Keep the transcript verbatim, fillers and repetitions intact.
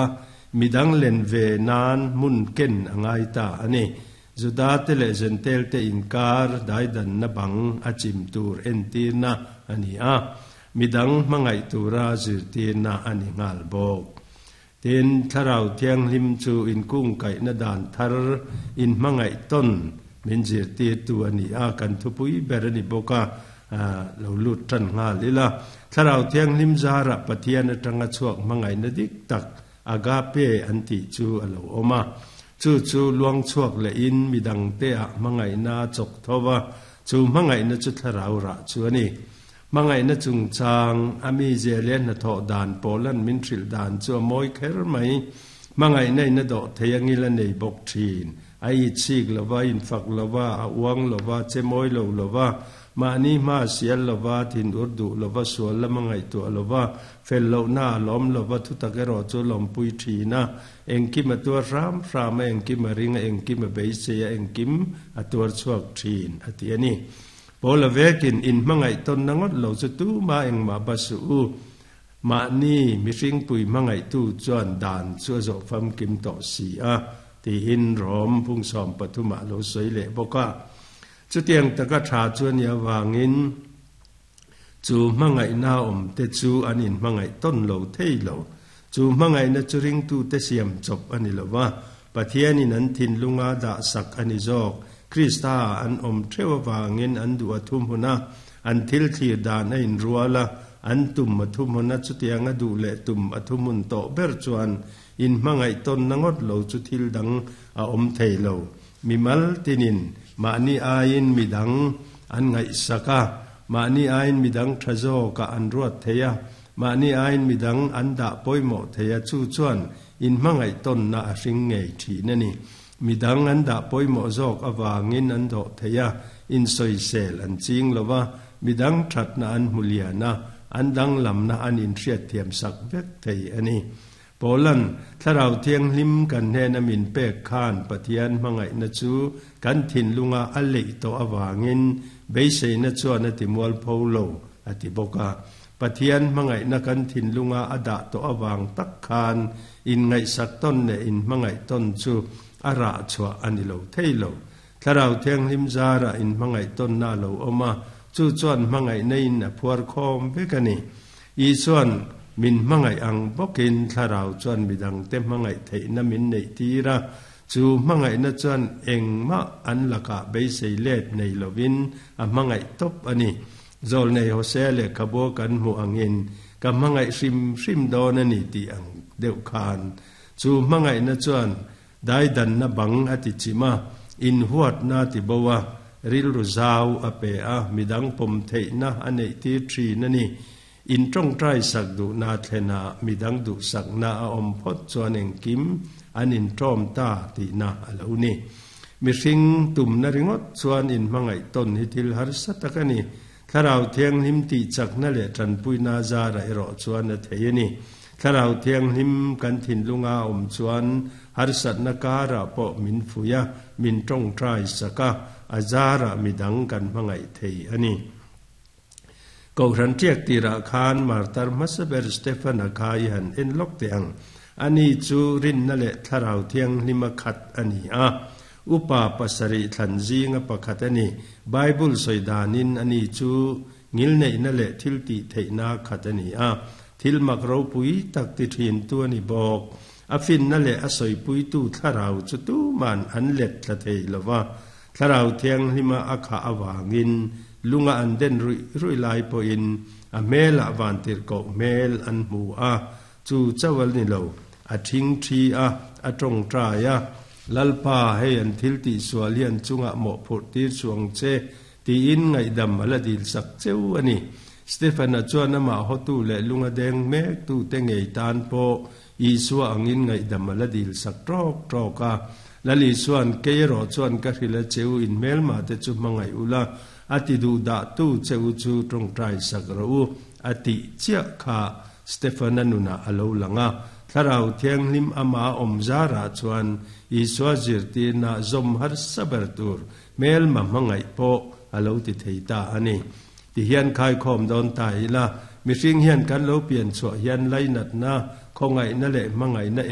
A, midang len ve nan hmun ken a ngai ta a ni. Juda te leh Jentail te inkar daidanna bang a chim tur entirna a ni a, midang hmangaih tura zirtirna a ni nghal bawk. Tin, Thlarau Thianghlim chu inkungkaihna dan thar inhmangaih tawn min zirtirtu a ni a, kan thupui ber a ni bawk a, lo lut tan nghal ila. Thlarau Thianghlim zarah Pathian atanga chhuak hmangaihna dik tak, agape an tih chu a lo awm a. Chu chu luang chhuak lehin midangte ah hmangaihna a chawk tho va, chu hmangaihna chu thlarau rah chu a ni. Hmangaihna chungchang a mi zia leh hnathawh dan pawlan min hrilh dan chu a mawi kher mai. Hmangaihna in a dawh thei angil a nei bawk thin. A itchik lova, infak lova, a uang lova, che mawi lo lova, mahni hma sial lova, thin ur duh lova, sual lama ngaihtuah lova, fel lohna a lawm lova, thutak erawh chu lawmpui thin a, engkim a tuar hram hram a, engkim a ring a, engkim a beisei a, engkim a tuar chhuak thin a ti a ni. Paula vekin in hmangaih tawnna ngawt lo chu tuma engmah ba suh u. Mahni mihringpui hmangaihtu chuan dan chu a zawh famkim tawh si a, tiin Rom phungsawm pathumah lo sawi leh bawk a. Chutiang taka tha chu a nih avangin chu hmangaihna awm te chu an inhmangaih tawn lo thei lo. Chu hmangaihna chu ringtute siam chawp a ni lo va, Pathianin an thinlunga dah sak a ni zawk. Krista an awm theuh avangin an duh a thumhun a, an thil thlir dan a inrual a, an tum a thumhun a, chutiang a duh leh tum a thumhun tawh ber chuan inhmangaih tawnna ngawt lo chu thil dang a awm thei lo. Mimal tinin mahni aiin midang an ngaihsak a, mahni aiin midang tha zawkah an ruat thei a, mahni aiin midang an dah pawimawh thei a, chu chuan inhmangaih tawnna a hring ngei thin a ni. Midang an dah pawimawh zawk avangin an dawh thei a, insawisel an ching lo va, midang thatna an hmu lian a, an danglamna an inhriat thiam sak vek thei a ni. Paula'n Thlarau Thianghlim kan hnena min pek khan Pathian hmangaihna chu kan thinlunga a leih tawh avangin beiseina chuan a ti mualpho lo a ti bawk a. Pathian hmangaihna kan thinlunga a dah tawh avang tak khan inngaihsak tawn leh inhmangaih tawn chu a rah chhuah a ni lo thei lo. Thlarau Thianghlim zarah inhmangaih tawnna a lo awm a, chu chuan hmangaihna in a phuar khawm vek a ni. Isuan min hmangaih ang bawkin Thlarau chuan midangte hmangaih theihna min neih tir a, chu hmangaihna chuan engmah an lakah beisei let nei lovin a hmangaih tawp a ni. Zawlnei Hosea lehkhabu kan hmuh angin ka hmangaih hrim hrim dawn a ni tih ang deuh khan chu hmangaihna chuan daidanna bang a ti chim a, inhuatna a ti bo a, rilru zau a pe a, midang pawm theihna a neih tir thin a ni. In tawngtai sak duhna thlen a, midang duhsakna a awm phawt chuan engkim an intawm ta tihna a lo ni. Mihring tumna ringawt chuan inhmangaih tawn hi thil harsa tak a ni. Thlarau Thianghlim tih chakna leh tanpuina zara erawh chuan a thei a ni. Thlarau Thianghlim kan thinlunga awm chuan harsatna karah pawh min fuih a, min tawngtai sak a, a zarah midang kan hmangaih thei a ni. Kohhran tiak tirah khan martar hmasa ber Stefan-a kha i han en lawk teh ang. Ani chu rinna leh Thlarau Thianghlima khat a ni a. Upa pasarih thlan zinga pakhat a ni. Bible sawi danin ani chu ngilneihna leh thil tih theihna khat a ni a. Thil mak ropui tak ti thintu a ni bawk. A finna leh a sawipuitu Thlarau chu tuman an let thla thei lo va. Thlarau Thianghlima a khah avangin lunga an den ruih ruih lai pawhin a hmelah vantirhkoh hmel an hmu a, chu chauh a ni lo, a thing thi a, a tawngtai a, Lalpa, hei an thil tih sual hi an chungah mawhphurh tir chuang che, tiin ngaihdam a la dil sak cheu a ni. Stefan-a chuan amah hawtu leh lunga deng mektute ngei tan pawh Isua angin ngaihdam a la dil sak tawk tawk a. Lal Isua'n, Kei erawh chuan ka hrilh a che u, inhmelmah te chu hmangaih ula, a ti duh dah tu che u chu tawngtai sak rawh u, a tih chiah kha Stefan-a nunah a lo lang a. Thlarau Thianghlim amah a awm zarah chuan Isua zirtirna zawm harsa ber tur hmelma hmangaih pawh a lo ti thei ta a ni. Tihian khaikhawm dawn ta ila, mihring hian kan lo pian chhuah hian lainatna, Khawngaihna leh hmangaihna